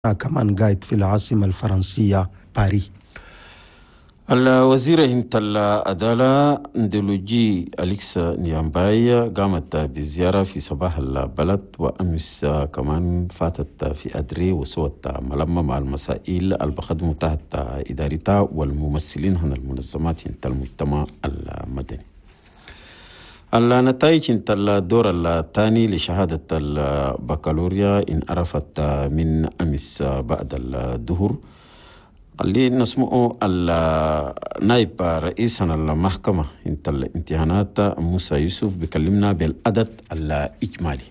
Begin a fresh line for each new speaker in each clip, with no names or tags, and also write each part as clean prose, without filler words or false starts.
كمان قاعد في العاصمة الفرنسية باريس.
الوزيرة انت العدالة ندلوجي أليكس نيامباي قامت بزيارة في صباح البلد، وأمس كمان فاتت في أدري وسوت ملمة مع المسائل البخدمة تحت إدارتها والممثلين هنا المنظمات انت المجتمع المدني. النتائج انت الدور الثاني لشهادة البكالوريا إن عرفت من أمس بعد الظهر. اللي نسمعه النائب رئيس المحكمة انت الامتحانات موسى يوسف بيكلمنا بالعدد الإجمالي.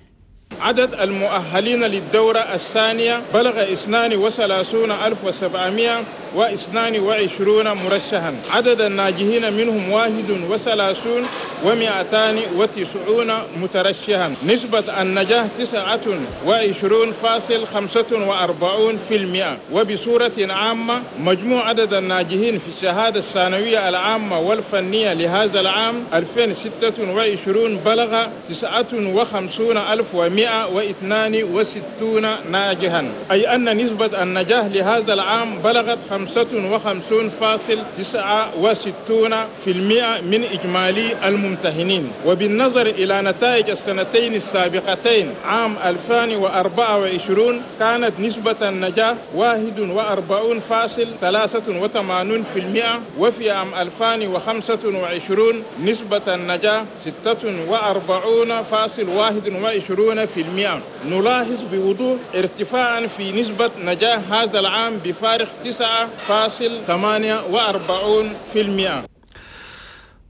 عدد المؤهلين للدورة الثانية بلغ 32722 مرشحا. عدد الناجحين منهم 231,290 مترشحا. نسبة النجاح 29.45%. وبصورة عامة مجموع عدد الناجحين في الشهادة الثانوية العامة والفنية لهذا العام 2026 بلغ 59,162 ناجحا، أي أن نسبة النجاح لهذا العام بلغت 55.69% من إجمالي الممتحنين. وبالنظر إلى نتائج السنتين السابقتين عام 2024 كانت نسبة النجاح 41.83%، وفي عام 2025 نسبة النجاح 46.21%. نلاحظ بوضوح ارتفاعا في نسبة نجاح هذا العام بفارق 9.48%.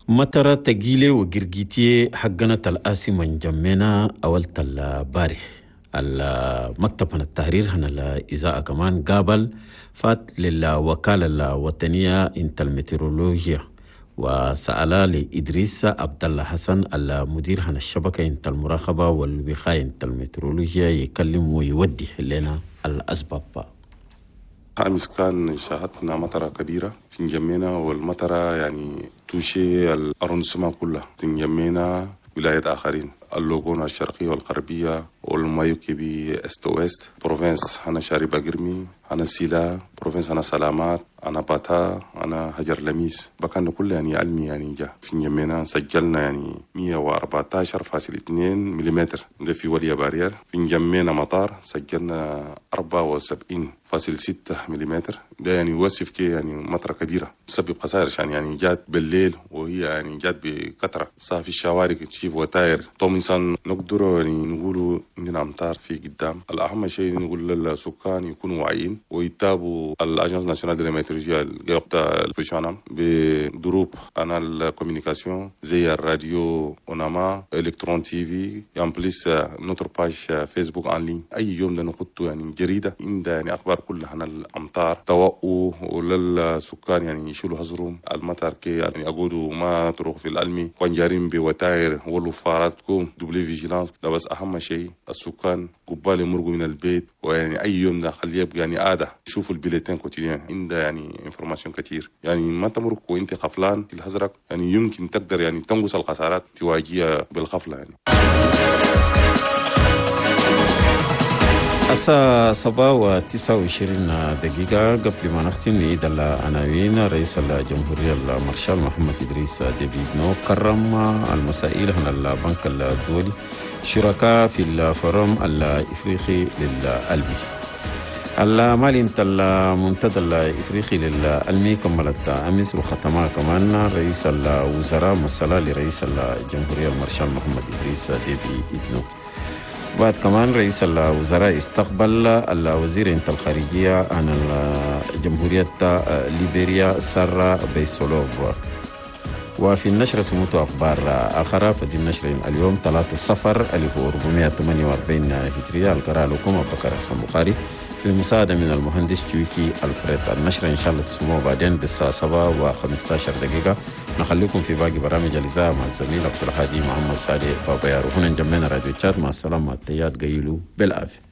مطرة تجيلي وجرجيتي حقنا الآسي من جمينا أول الباري المكتب هنا التحرير هنا الإذاعة كمان قابل فات للوكالة الوطنية انت المترولوجيا وسأل لإدريس عبد الله حسن المدير هنا الشبكة انت المراقبة والوقاية انت المترولوجيا يكلم ويودي لنا الأسباب.
أمس كان شاهدنا مطرة كبيرة في نجمينا، والمطرة يعني touché l'arrondissement كلها، نجمينا ولايات آخرين، اللوغون الشرقية والغربية والمايوكيبي est ouest، province هنا شاربا قرمي، هنا سيلا، province هنا سلامات، أنا باتا، أنا هجر لميس، بكان كله يعني علمي يعني جا في نجمينا سجلنا يعني 114.2 ملم ده في وليا بارير. في نجمينا مطار سجلنا 74.6 ملم، ده يعني يوصف كي يعني مطرة كبيرة تسبب خسائر عشان يعني جات بالليل وهي يعني جات بكثرة صار في الشوارع تشيف وتاير توم إنسان نقدر يعني نقولوا عندنا أمطار في قدام. الأهم شيء نقول للسكان يكونوا واعيين ويتابعوا ال Agence nationale de météorologie البوشانم بدروب انا ال communication زي الراديو اوناما الكترون TV en plus notre page Facebook en ligne. اي يوم ده نحطه يعني جريده عندها يعني اخبار كلها عن الامطار توقوا وللسكان يعني يشيلوا حذرهم المطر كي يعني اقولوا ما تروح في الالمي وانجارين بوتاير ولفاراتكم double vigilance. ده بس اهم شيء السكان قبال يمرقوا من البيت، ويعني اي يوم ده خليه يبقى يعني عاده شوفوا ال bulletin quotidien عندها يعني information كتير، يعني ما تمرق وانت خفلان في الحزرق يعني يمكن تقدر يعني تنقص الخسارات تواجهها بالغفله يعني.
الساعة 7:29 قبل ما نختم نعيد العناوين. رئيس الجمهورية المارشال محمد إدريس ديبي كرم المسائل هنا البنك الدولي شركاء في ال forum الإفريقي للألمي. المالي انت المنتدى الإفريقي للألمي كملت أمس وختمها كمان رئيس الوزراء مسألة لرئيس الجمهورية المارشال محمد إدريس ديبي إدنو. بعد كمان رئيس الوزراء استقبل الوزير انت الخارجية عن جمهورية ليبيريا سارة بيسولوف. وفي النشرة سموت أخبار آخرى. فدي النشرة اليوم 3 صفر 1448 هجرية. القراءة لكم أبو بكر حسن بخاري بمساعدة من المهندس جويكي الفريد. النشرة إن شاء الله تسمعوا بعدين بالساعة 7:15. نخليكم في باقي برامج الإذاعة مع الزميل عبد الهادي محمد صالح بابا يارو. هنا نجمعنا راديو تشاد. مع السلامة. التيات قيلوا بالعافية.